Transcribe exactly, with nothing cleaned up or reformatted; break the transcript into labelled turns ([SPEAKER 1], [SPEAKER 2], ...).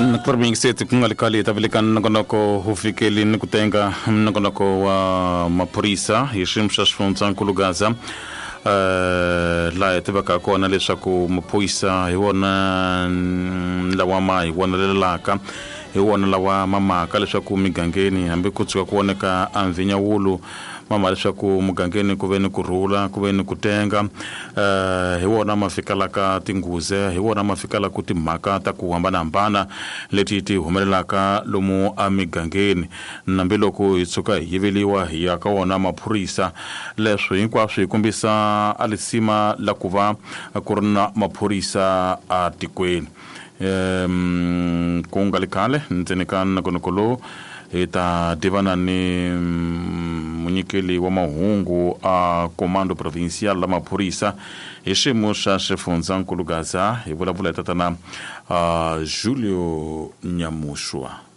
[SPEAKER 1] Nakubingiseti ku nga ri khale hi ta veleka nongonoko wu fikeli ni ku tenga nongonoko wa maphorisa hi xiyimo xa xifundzankulu Gaza uh, laha hi tivaka kona leswaku maphorisa hi wona lawa ma hi vonelelaka hi wona lawa ma maka leswaku migangeni hambi ku tshuka ku voneka a mvinyawulu mama leswaku mugangeni ku ve ni ku rhula ku ve ni ku tenga uh, hi wona ma fikalaka tinghuze hi wona ma fikalaka timhaka ta ku hambanahambana leti ti humelelaka lomu emigangeni nambi loko hi tshuka hi yiveliwa hi ya ka wona maphorisa leswi hinkwaswo hi kombisa a lisima la ku va ku ri na maphorisa a tikweni um ku nga ri khale ndzeni ka nongonoko lowu hi ta tivana ni munyikeli wa mahungu a comando provincial la maphorisa hi xiyimo xa xifundzankulu Gaza hi vulavula hi tatana uh, Julio Nyamushwa.